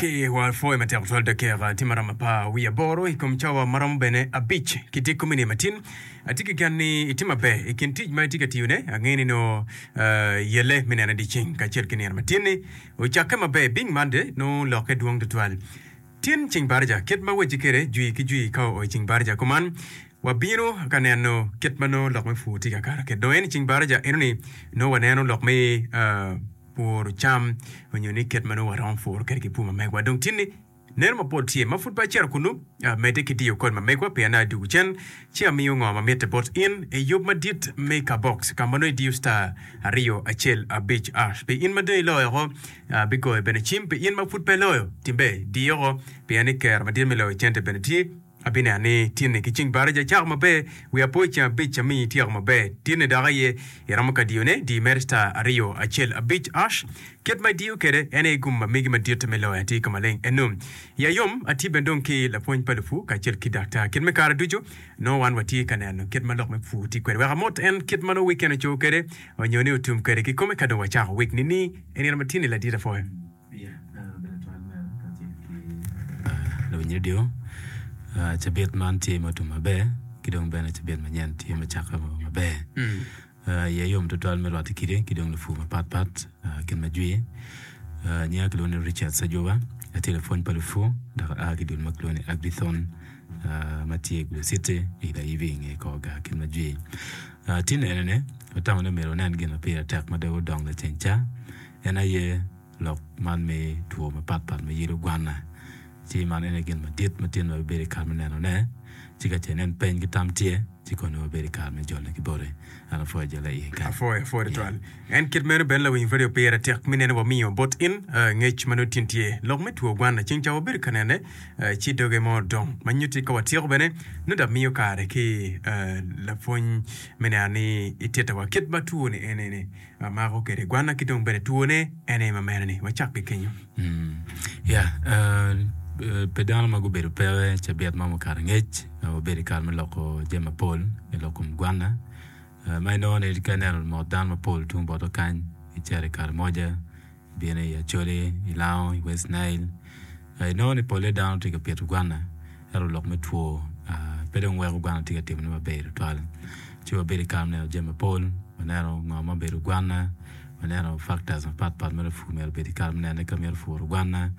Ki wapwoyo matek tutwal dakika tye maromo apar wiye aboro i kom cawa maromo bene abic ki tye komi ni matin. Atye ki gen ni itye maber i kin tic ma itye ka tiyone. Angeyo ni nongo yelle me nene dyeceng kacel ki nino matin-ni ocakke maber. Bing Monday nongo lokke dwong tutwal. Tin ceng baraja kit ma wacci kwede jwi ki jwi ka oo i ceng baraja kuman wabino ka neno kit ma nongo lok me pur tye ka kato kwede. Dong en i ceng baraja enoni nongo waneno lok me puro cam onyo ni kit ma nongo waromo puro kwede ki pur ma megwa. Dong tin ni neno mapol tye ma pud pe acito kunu medde ki diyo kod ma megwa pien adwogo cen ci amiyo ngo ma mitte bot in i yub madit me kabox ka ma nongo idiyo star aryo acel abic ash pi in ma dong iloyo oko Abigoyo bene cim pi in ma pud pe iloyo timbe diyo oko, pien ni kero madit me loyo cente bene tye. Abineno ni tinni ki cing baraja icako maber, wiya po i ceng abic amiyi ityeko maber. Tinni dok aye iromo ka diyone, di mere star aryo acel abic ash. Kit ma idiyo kwede en aye gum ma megi madit me loyo atir ka maleng eno. Iya yom, atye bene dong ki lapwony pa lupur kacel ki daktar. Kit me kare ducu, nongo wan watye ka neno kit ma lok me pur tye kwede. Wek amot en kit ma nongo weekend oco kwede. Onyo ni otum kwede kikome ka dong wacako wik ni ni i nino ma tye ni ladit apwoyo. Lawiny radio, cabit man tye ma otum maber ki dong bene cabit manyen tye ma cakke maber. Iya yom tutwal me rwatte kidi ki dong lupur mapat pat kit ma jwi. Nyinga kilwongo ni Richard Sajowa, atye lapwony pa lupur dok aa ki dul ma kilwongo ni Agrithon ma tye i Gulu City i Layibi i nge kor gar kit ma jwi. Tin enini, watamo ni myero wanen gin ma pire tek ma dong odongo laceng ca, en aye lok man me two mapatpat ma yelo gwanna. Ci man en aye gin madit ma tin wabibedo i kare me nenone. Ci ka ce inen peny ki tam tye, ci kono wabedo i kare me jole ki boti. An apwoyo jole iye kany. Apwoyo, apwoyo tutwal. En kit meno bene lawiny radio pire tek me neno wamiyo bot in ngec ma nongo tin tye. Lok me two gwanna ceng ca wabedo ka nene ci doge mo odong ma nyutti ka watyeko bene nongo dok miyo kare ki lapwony me neno ni ititta wa kit ma two ni ene ni mako kwede gwanna ki dong bene two ne ene ma mere ni wacak ki kenyo. Ya, pe dano ma gubedo peke cabit mo mukato angec wabedo i kare me loko jami mapol i lok kom gwanna. Ma inongo ni ka ineno mot dano mapol tung botwa kany, icito i Karamoja, ibino i Acholi, i Lango, i West Nile, inongo ni polle dano tye ka pito gwana ento lok me two pe dong weko gwana tye ka timone maber tutwal. Ci wabedo i kare me neno jami mapol, waneno ngo ma obedo gwana, waneno factors mapat pat ma lapur myero obed ki kare me nenone ka mito puro gwana,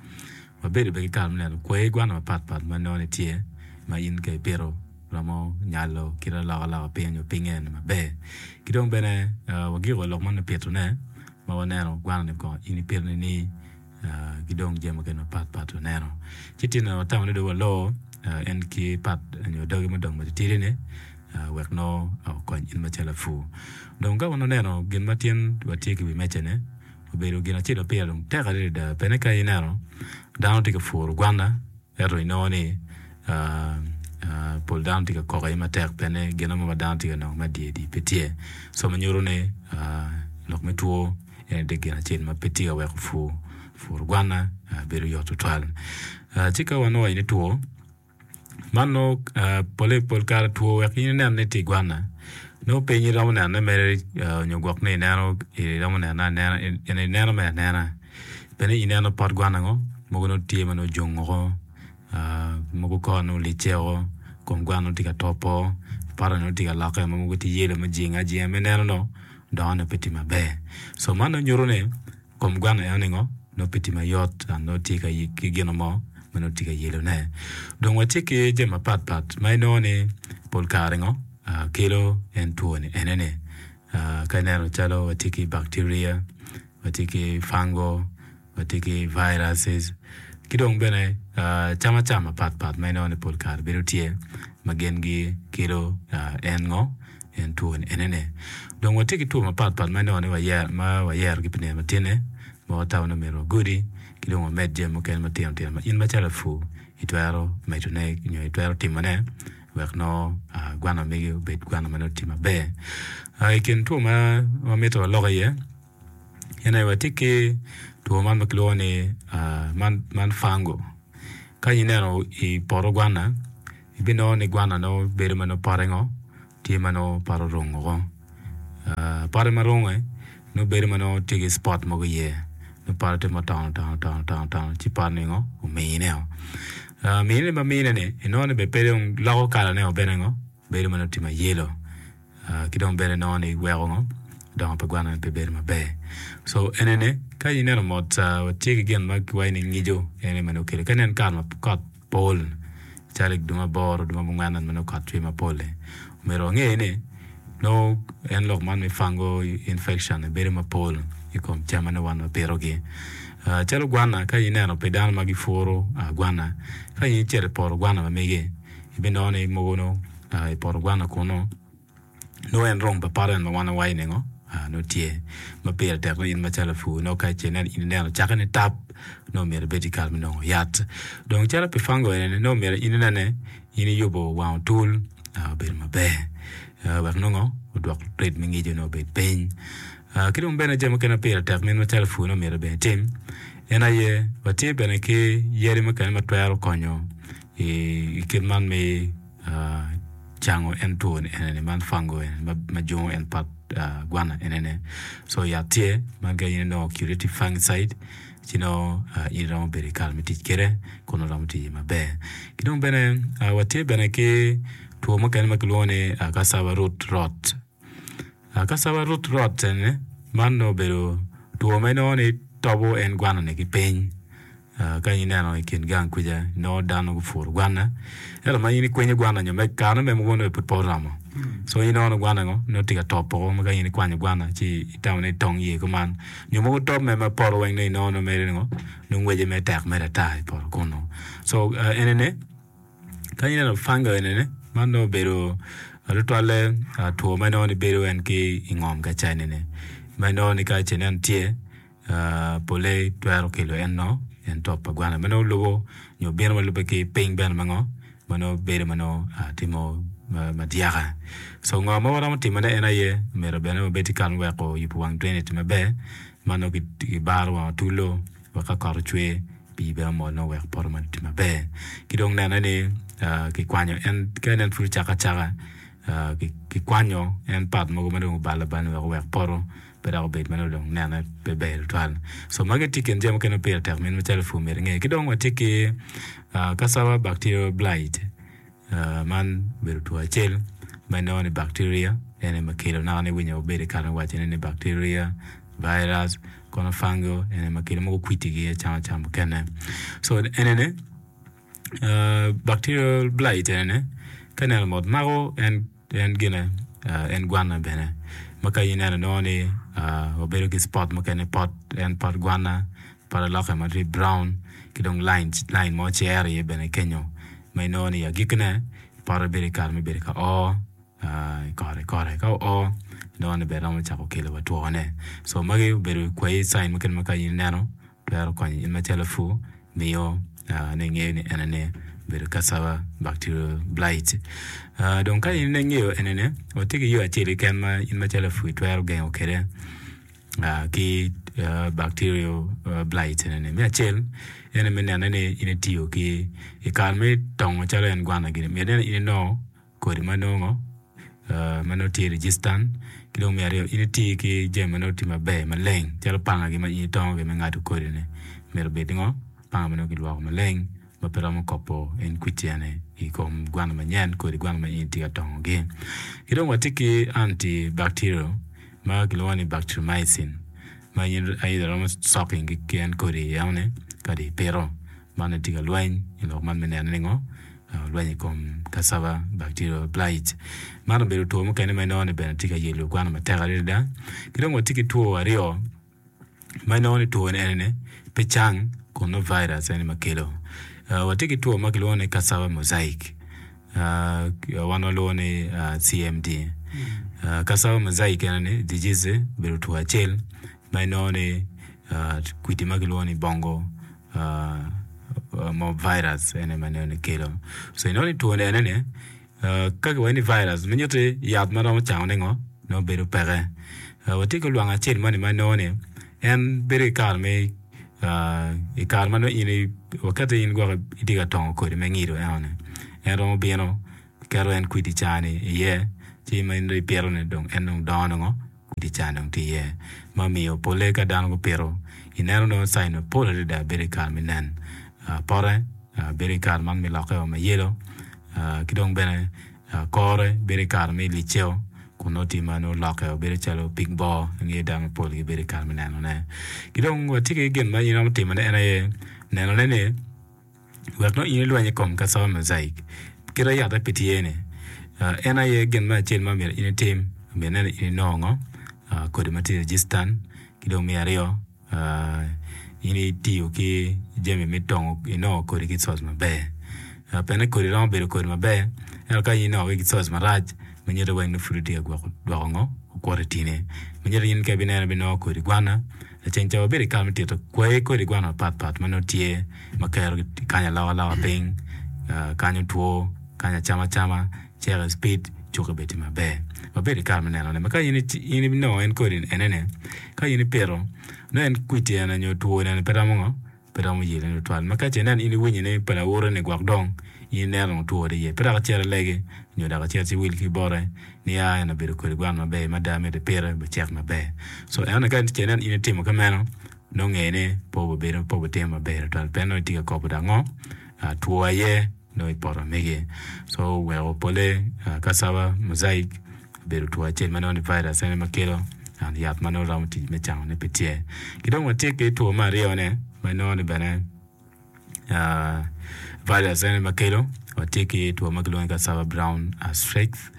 wabedo bene ki kare me neno kwayi gwana mapat pat ma inongo ni tye ma in ka ipito romo nyalo kit alokaloka piny nyo pinye eni maber. Ki dong bene wagiko lok man me pitone ma waneno gwana ni kong in ipito ni ki dong jami mukene mapat pat waneno. Ci tye watamo ni dong walor en ki pat nyo doge mudong matitidi ni wek nongo okony in macalo lapur. Dong ka wan waneno gin ma tyen watye ki wi meja ni obedo gin acel ma pire dong tek adada pene ka ineno dano tye ka puro gwana Ento inongo ni pol dano tye ka koko iye matek pien ni gin mo ma dano tye ka nongo me adyedi pe tye. Co ma nyuto ni lok me two en aye gin acel ma pe tye ka weko pur pur gwana bedo yot tutwal. Ci ka wanongo ni two man nongo pole pol kare two wek in inen ni tye i gwana nongo piny iromo nenone mere nyo gwok ni ineno iromo nenone anena ineno mere anena. Bene ineno pot gwana ngo mogo nongo tye ma nongo ojung woko mogo kore nongo olicce woko kom gwana nongo tye ka topo pote nongo tye ka lokke ma mogo tye yelo ma ojinge ajinga ma ineno nongo dongone pe tye maber co man nongo nyuto ni kom gwana enoni ngo nongo pe tye mayot dok nongo tye ki gin mo ma nongo tye ka yelone dong watye ki jami mapat pat ma inongo ni pol kare ngo kelo en two ni enoni ka ineno calo watye ki bacteria watye ki fungal, watye ki viruses ki dong bene cam acama mapat pat ma inongo ni pol kare bedo tye ma gin gikelo en ngo en two ni enene. Dong watye ki two mapat pat ma inongo ni ma wayerogi pi nino matine ma watamo ni myero wagudi ki dong wamed jami mukene matino tino ma in macalo lapur itwero medone nyo itwero timone wek nongo gwana megi obed gwana ma nongo tye maber. I kin two ma wamito walok iye en aye watye ki two man ma kilwongo ni man fango. Ka ineno i poto gwana ibinongo ni gwana nongo bedo ma nongo pote ngo tye ma nongo pote orung woko. Pote ma runge nongo bedo ma nongo tye ki spot mogo iye. Nongo pote tye ma otono otono otono otono otono ci pot ningo omine-o. Mine ma mine-ni inongo ni bene pe dong loko kalane-o bene ngo bedo ma nongo tye ma yelo ki dong bene inongo ni weko ngo dongo pa gwana pe bedo maber. So enini ka ineno mot watye ki gin ma kiwaco ni ngico en aye ma nongo kelo ka inen kare ma kot pol calo i dwe aboro dwe abongwen ma nongo kot cwer mapol-li omyero wange ni nongo en lok man me fungal infection bedo mapol i kom cam ma nongo wan wapitogi. Calo gwana ka ineno pi dano ma gipuro gwana ka in icito i poto gwana ma megi ibinongo ni mogo nongo i poto gwana kunu Nongo en rong pa poto en ma wan wawaco ningo nongo tye ma pire tek ni in macalo lapur nongo ka ce in ineno cakke ni tap nongo myero ibed ki kare me nongo yat. Dong calo pi fango eni nongo myero in inene in iyubo wang otul obedo maber wek nongo odwok rate me ngico nongo obed piny. Ki dong bene jami mukene ma pire tek ma in macalo lapur nongo myero bene itim en aye watye bene ki yadi mukene ma twero konyo i kit man me cango en two ni enini man fungo eni ma jungo en pot gwana enini so yat tye ma ka in inongo curative fungicide ci nongo in iromo bedo ki kare me tic kwede kun oromo tic iye maber. Ki dong bene watye bene ki two mukene ma kilwongo ni cassava root rot. Cassava root rot eni man nongo obedo two ma inongo ni tobo en gwana-ni ki piny. Ka in ineno i kin gang kwica inongo dano gupuro gwana ento ma in ikwenyo gwana nyo me kare me mogo nongo pud pe oromo so in inongo ni gwana ngo nongo tye ka top woko ma ka in ikwanyo gwana ci itamo ni itong iye kuman nyo mogo top mere ma poto weng nongo inongo nongo mere ningo nongo ngwece mere tek mere ata i poto kunu so enini ka in ineno fungi enini man nongo obedo tutwalle two ma inongo ni bedo en ki i ngom ka ca enini ma inongo ni ka ce nen tye Polle twero kelo en nongo en top pa gwana ma nongo lubo nyo bino ma lubbe ki piny bene ma ngo ma nongo bedo ma nongo timo madyaka. So ngo ma waromo timone en aye myero bene wabed ki kare me weko yubo wang drainage maber ma nongo kibaro wang otulo wek ka kot ocwer pii bene omol nongo wek poto man oti maber. Ki dong nene ni kikwanyo en ka inen pud ocake acaka kikwanyo en part mogo ma dong obalo abala wek owek poto pe dok obed ma nongo dong nene pe ber tutwal. So magi tye i kin jami mukene ma pire tek min macalo pur myero inge. Ki dong watye ki cassava bacterial blight man obedo two acel ma inongo ni bacteria en aye ma kelo naka ni winyo wabedo i kare me wacone ni bacteria, virus kono fungo en aye ma kelo mogo kwitigi acama cam mukene. So enini bacterial blight enini ka ineno mot mako en En gine, en gwanna bene. Ma ka in ineno inongo ni wabedo ki spot mukene pot en pot gwanna, pot aloke ma tye brown ki dong line line mo cero iye bene kenyo ma inongo ni i agikkine pote bedo i kare me bedo ka o i kore kore ka oo inongo ni bene romo cako kelo wa twone. So magi obedo kwayi sign mukene ma ka in ineno twero konyo in macalo lapur miyo ni ingeyo ni enini obedo cassava bacterial blight. Dong ka in ingeyo enini, watye ki yo acel keken ma in macalo lapur itwero gengo kwede ki bacterial blight enini. Me acel en aye me nene ni in itiyo ki i kare me tongo calo en gwana gini myero inen ni in inongo kodi ma nongo ma nongo tye registered ki dong me aryo in iti ki jami ma nongo tye maber maleng calo panga gi ma in itongo ki me ngado kodi ni myero obed ngo panga ma nongo kilwoko maleng ma pe romo kopo en kwiti eni i kom gwano manyen kodi gwano ma in itye ka tongo gi. Ki dong watye ki anti bacterial ma kilwongo ni bacteriomycin ma in aye romo soking ki en kodi enoni ka dong ipito. Man aye tye ka lweny i lok man me neno ni ngo olwenyo i kom cassava bacterial blight. Man obedo two mukene ma inongo ni bene tye ka yelo gwana matek adada. Ki dong watye ki two aryo ma inongo ni two eni pe cang kun nongo virus ene ma kelo. Watye ki two ma kilwongo ni cassava mosaic wan walwongo ni CMD. Cassava mosaic eni disease obedo two acel ma inongo ni kwidi ma kilwongo ni bongo mo virus ene ma ineno ni kelo so inongo ni two ni ene ni ka kiwaco ni virus ma nyutti yat ma romo cango ne ngo nongo bedo peke watye ki lwang acel moni ma inongo ni en bedo ki kare me i kare ma nongo in waketi in gwok itye ka tongo kodi me ngido eno ni en romo bino keto en kwidi cani iye ci ma in dong ipito ni dong en dong dongo nongo Kwidi ca dong tye iye ma omiyo polle ka dano gupito Ineno nongo cain mapol adada bedo i kare me nen pote, bedo i kare man me lokke ma yelo ki dong bene kore bedo i kare me liceo kun nongo tye ma nongo olokke bedo calo pig bor angeyo dano mapol gibedo i kare me nenone. Ki dong watye ki gin ma in iromo timone en aye nenone ni wek nongo in ilweny i kom cassava mosaic kite yate pe tye ni en aye gin me acel ma myero in itim myero inen ni in inongo ngo kodi ma tye registan ki dong me aryo in itiyo ki jami me tongo inongo kodi ki source maber. Pien ni kodi romo bedo kodi maber ento ka in inongo ki source marac ma nyuto weng ni pud itye ka gwoko dwoko ngo okuto itini ma nyuto in ka ibineno ibinongo kodi gwana lacen ca wabedo i kare me tito kwayi kodi gwana mapat pat ma nongo tye ma kero kanyo alokaloka piny kanyo two kanyo acama acama cek i cipid cuki bed tye maber. Wabedo i kare me nenone ma ka in inongo en kodi enene ka in ipito nongo en kwiti ene nyo two ene pe romo ngo pe romo yelone tutwal ma ka ce inen in iwinyo ni pa lawote ni gwok dong in ineno dong two tye iye pe dok icit ilegi nyo dok icit ci wil ki bote ni aa en obedo kodi gwan maber mada myero ipite bicek maber so enoni ka ce inen in itimo kumeno nongo nge ni pe obibedo pe obitimo maber tutwal pien nongo itye ka kobo dok ngo two aye nongo i poto mege. So oweko pole cassava mosaic obedo two acel ma nongo ni virus ene ma kelo and yat ma nongo romo tic me cango ne pe tye. Ki dong watye ki two me aryo ne ma inongo ni bene virus ene ma kelo watye ki two ma kilwongo ni cassava brown streaks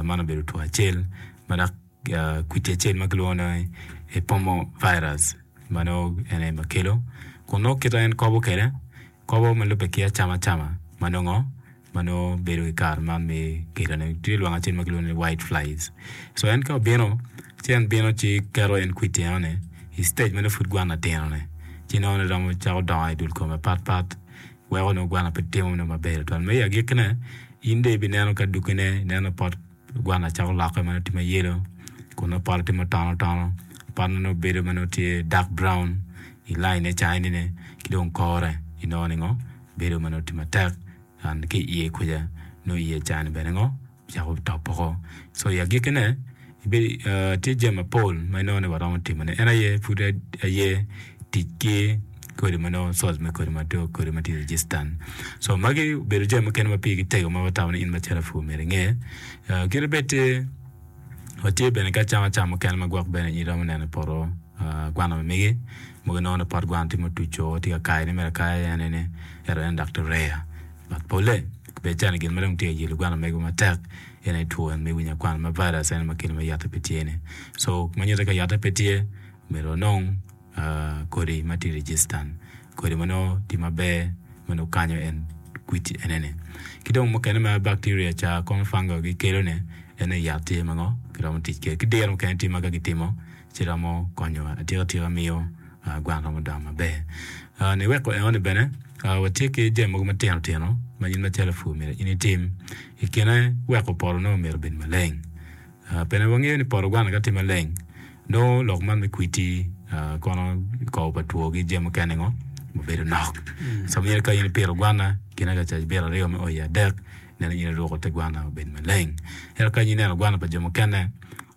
man obedo two acel ma dok kwiti acel ma kilwongo ni epomo virus ma nongo en aye ma kelo kun nongo kite en kobo kwede Kobo ma lubbe ki acamacama ma nongo ma nongo bedo i kare man me kelone tye lwang acel ma kilwongo ni white flies. So en ka obino ci en bino ci keto en kwiti enoni i stage ma nongo pud gwana tinone ci nongo ni romo cako dongo i dul kome patpat weko nongo gwana pe timo nongo maber tutwal ma i agikkine in dong ibineno ka dukine ineno pot Gwana cako lokke ma nongo tye ma yelo kun nongo pote tye ma otono otono pot nongo bedo ma nongo tye dark brown i laine cainine ki dong kore inongo ni ngo bedo ma nongo tye matek and ki iye kuca nongo iye cani bene ngo cako top woko so i agikkine tye jami mapol ma inongo ni waromo timone en aye pud aye tic ki kodi ma nongo source me kodi ma tye kodi ma tye registan so magi obedo jami mukene ma pigi tego ma watamo ni in macalo apur myero inge. Kadi bed tye watye bene ki acama cam mukene ma gwok bene in iromo neno i poto gwana ma megi mogo inongo ni pot gwana tye ma otuco tye ka kayone mere akaya en ene ento en dok tye rare but pole bed calo gin ma dong tye ka yelo gwana mego matek en aye two en me winyo akwana ma virus en aye ma kelo ma yate pe tye ni so ma nyuto ka yate pe tye myero wanong kodi ma tye registan, kodi ma nongo tye maber ma nongo kanyo en kwiti enene. Ki dong mukene ma bacteria ca kono fungi gikelo ne en aye yat tye ma ngo kiromo tic kwede. Ki diro mukene tye ma ka gitimo ci romo konyo atika tika miyo gwang romo dongo maber. Niweko enoni bene watye ki jami mogo matino tino ma in macalo lapur myero in itim ikine weko poto nongo myero obed maleng. Bene wangeyo ni poto gwana ka tye maleng, nongo lok man me kwiti kono kobo pa two ki jami mukene ngo obedo nok. So myero ka in ipito gwana kine ka cabit aryo me o iye adek neno in iruko te gwana obed maleng. Ento ka in ineno gwana pa jo mukene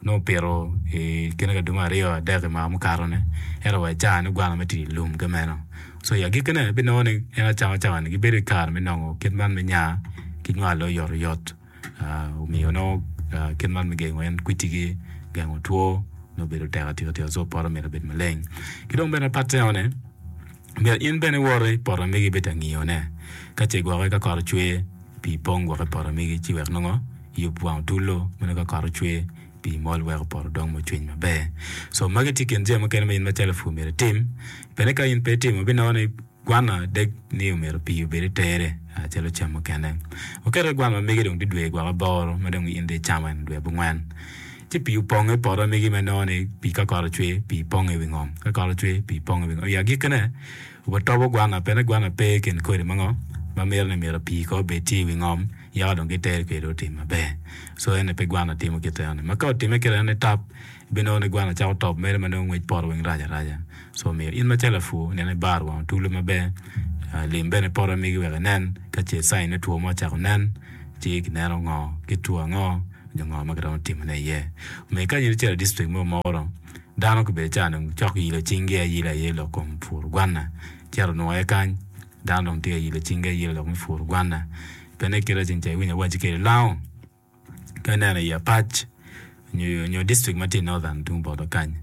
nongo opito i kine ka dwe aryo adek i mwaka mukato ni ento wa i caa ni gwana me tye i lum kumeno. So i agikkine ibinongo ni en acama cawa ni gibedo ki kare me nongo kit man me nya ki nywalo oyotoyot. Omiyo nongo kit man me gengo en kwitigi, gengo two nongo bedo tek atika tika so poto myero obed maleng. Ki dong bene pat eno-ni myero in bene iwot i poto megi ibed ka ngiyone ka ce gwoki ka kot ocwer pii pong gwok i poto megi ci wek nongo iyub wang otullo ma nongo ka kot ocwer pii mol weko poto dong ma ocwiny maber. So magi tye kin jami mukene ma in macalo lapur myero itim bene ka in pe itimo ibinongo ni Gwana deg ni omyero pii obed i tere calo cam mukene. Waketo ki gwana ma megi dong tye dwe gwok aboro ma dong in dong icamo en dwe abongwen. Ci pii oponge i poto megi ma inongo ni pii ka kot ocwer pii ponge i wi ngom, ka kot ocwer pii ponge i wi ngom. I agikkine watobo gwana pien ni gwana pe i kin kodi ma ngo ma mito ni myero pii kong obed tye i wi ngom yaka dong ki tere kwede dong otim maber. So ene pe gwana timo kite eno ni ma ka otime kite eno ni tap ibinongo ni gwana cako top mere ma nongo ngwec poto weng rac araca. Co omiyo in macalo lapur neno ibar wang otulu maber, lim bene poto megi wek inen ka ce cain me two mo ocako nen ci kineno ngo kit two ango nyo ngo ma kiromo timone iye. Omiyo ka in icito i district mo moro. Dano gubedo ca dong cok yilo cinggi ayila iye lok kom puro gwanna. Cito onongo aye kany, dano dong tye ka yilo cinggi ayila lok me puro gwanna. Pien kite ceng ca iwinyo awaci kwede lango ka ineno i Apac nyo district ma tye i Northern tung botwa kany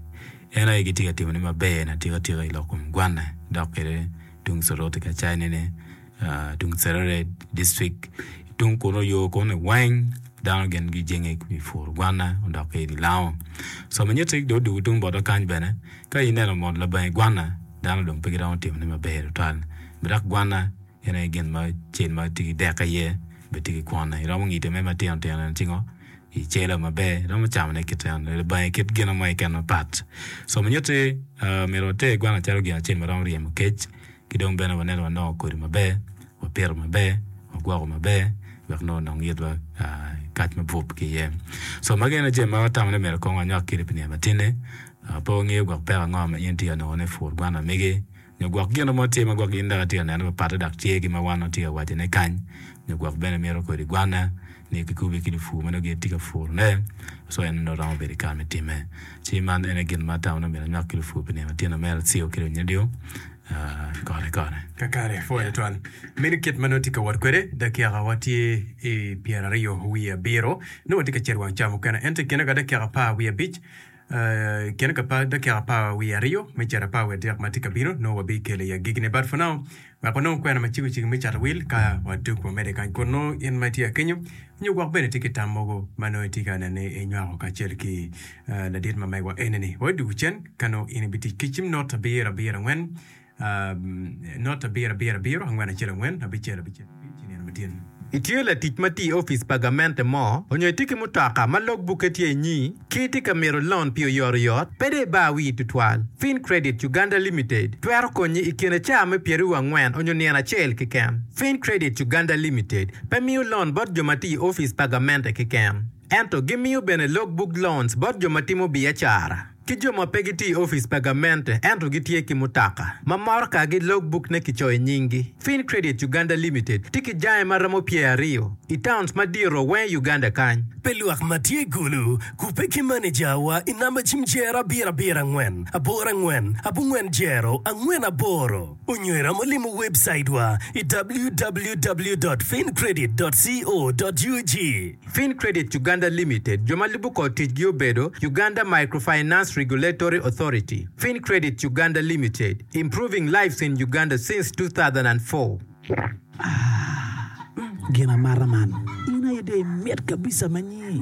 en aye gitye ka timone maber atika tika i lok kom gwanna dok kwede tung Soroti ka caine-ni. tung Serere district tung kunu yo kunu weng dano gin gijenge i puro gwana odok ki i lango co ma nyutti dong odwogo tung botwa kany bene ka ineno mot labangi gwana dano dong pe giromo timone maber tutwal dok gwana en aye gin ma cel ma tye ki dek iye bene tye ki kwone iromo ngide mere matino tino ci ngo icelo maber iromo camone kit eno labangi kit gin mo keken mapat co ma nyutti myero water gwana calo gin acel ma romo ryemo kec. Ki dong bene waneno wanongo kodi maber, wapito maber, wagwoko maber wek nongo onong itwa kac mabup ki iye. So magi ene jami ma watamo ni myero kong wanywak kwede pi nino matinni. Pe wangeyo gwok peko ango ma in itye ka nongone i pur gwan amegi nyo gwok gin mo tye ma gwok in dok itye ka neno papatte dok tye ki ma wan watye ka wacone kany nyo gwok bene mito kodi gwanna ni kikubi ki lupur ma nongo gin tye ka purone so en nongo romo bedo i kare me timme. Ci man ene gin ma atamo ni myero anywak ki lupur pi nino matin omera Cio ki Lunyo Radio. Kore kore. Kakare, pwoyo twal. Meno kit ma nongo tye ka wot kwede, dakika wa tye i pyeraryo wiye abiro. Nongo watye ka cito wang ca mukene. Ento i kine ka dakika apar wiye abic, i kine ka dakika apar wiye aryo me cito apar wiye adek ma tye ka bino, nongo wabikelo i agikine. But for now, wek wanong kwena macego cego me cato wil ka wadug wamede kany kun nongo in ma itye akenyo nyo gwok bene itye ki tam mogo ma nongo itye ka neno ni inywako kacel ki ladit ma megwa eni-ni. Wadug cen ka nongo in ibitic ki cim not abiro abiro angwen not abiro abiro abiro angwen acel angwen abicel abicel abic i nino matin. Itye latic ma tiyo i opic pa gamente mo onyo itye ki mutoka ma log bukke tye inyi ki itye ka mito lon pi oyotoyot? Pe dong ibar wii tutwal. Fin Credit Uganda Limited twero konyi i kine caa me pyeraryo angwen onyo nino acel keken. Fin Credit Uganda Limited pe miyo lon bot jo ma tiyo i opic pa gamente keken, ento gimiyo bene log book loans bot jo ma timo biacara. Ki jo ma pe gitye i opic pa gamente ento gitye ki mutoka ma morokagi logbuk-ne kicoyo nyinggi. Fin Credit Uganda Limited tye ki jange ma romo pyeraryo i towns madito weng i Uganda kany. Pe lwak ma tye i Gulu kubbe ki manejawa i namba cim jero abiro abiro angwen aboro angwen abongwen jero angwen aboro onyo iromo limo webcaitwa i www dot fincredit dot co dot ug. Fincredit Uganda Limited, jo ma lubo kor ticgi obedo, Uganda Microfinance Regulatory Authority, Fincredit Uganda Limited, improving lives in Uganda since 2004. Ah, gin amata man. In aye dong imit kabisa ma nyi.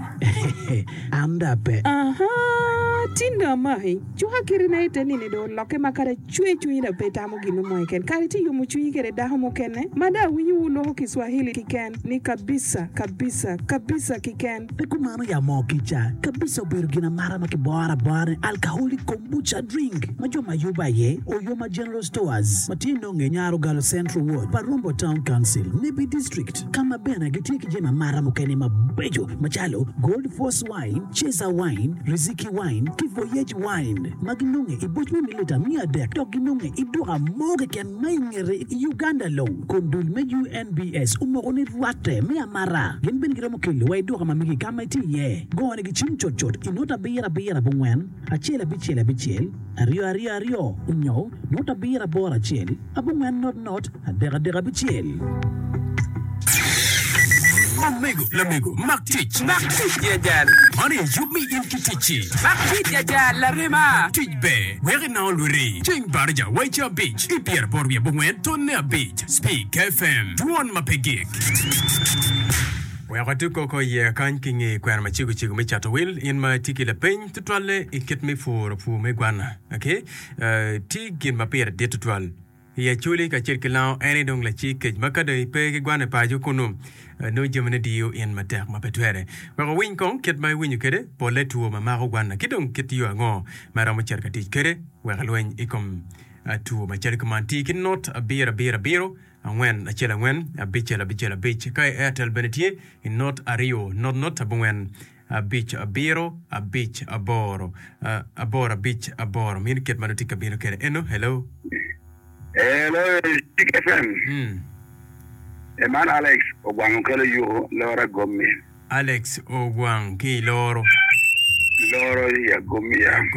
An dong ape. Ahaa, tin dong amaki. Cuka kirina ite nini dong olokke ma kadi acwe cwinyi dong pe itamo gin mo keken. Kare itye yomo cwinyi kede dako mukene ma dong awinyo wu loko Kiswahili kiken ni kabisa, kabisa, kabisa kiken. Pe kumano ya moo kica. Kabisa obedo gin amata ma kiboro abora ni alcoholic kombucha drink ma jo ma yubo aye Oyoma General Stores ma tye nonge Nyarogalo Central Ward, Parombo Town Council, Nebbi District ka ma bene gitye ki jami amata mukene mabeco macalo Gold Force Wine, Cesar Wine, Riziki Wine ki Voyage Wine ma ginonge i boc me mililita miya adek dok ginonge i duka mo keken ma i ngete i Uganda long kun dul me UNBS omoko ni rwatte me amata. Gin bene giromo kelo wa i duka ma megi ka ma itye iye. Go ni gicim cutcut i not abiro abiro abongwen acel abicel abicel aryo aryo aryo onyo not abiro aboro acel abongwen not not adek adek abicel. Omego, lamego, mak tic. Mak tic ya jal. Man aye yub me in ki ticci. Mak tic ya jal, larema. Tic ber, wek inango lwiti. Ceng baraja wa i ca abic ki pyeraboro wiye abongwen tonne abic. Speak FM, dwon ma pe gik. Wek watug koko iye kany ki nge kwena macego cego me cato wil, in ma itye ki lapeny tutwalle i kit me puro pur me gwana. Okay? Uh, tye gin ma pire dit tutwal. I Acholi kacel ki Lango en aye dong lacik kec ma ka dong ipe ki gwana i paco kunnu, nongo jamine diyo in matek ma pe twere. Wek wawiny kong kit ma iwinyo kwede polle two ma mako gwana ki dong kit yo ango ma iromo cito ka tic kwede wek ilweny i kom two macalo kuman. Ti ki not abiro abiro abiro angwen acel angwen abicel abicel abic ka i Airtel bene tye i not aryo not not abongwen abic abiro abic aboro aboro abic aboro mino kit ma nongo tye ka bino kwede eno hello. Hello Cik FM. Mm. E man Alex Ogwang okelo yuko loro agommi. Alex Ogwang ki i loro. Loro i agommi ya.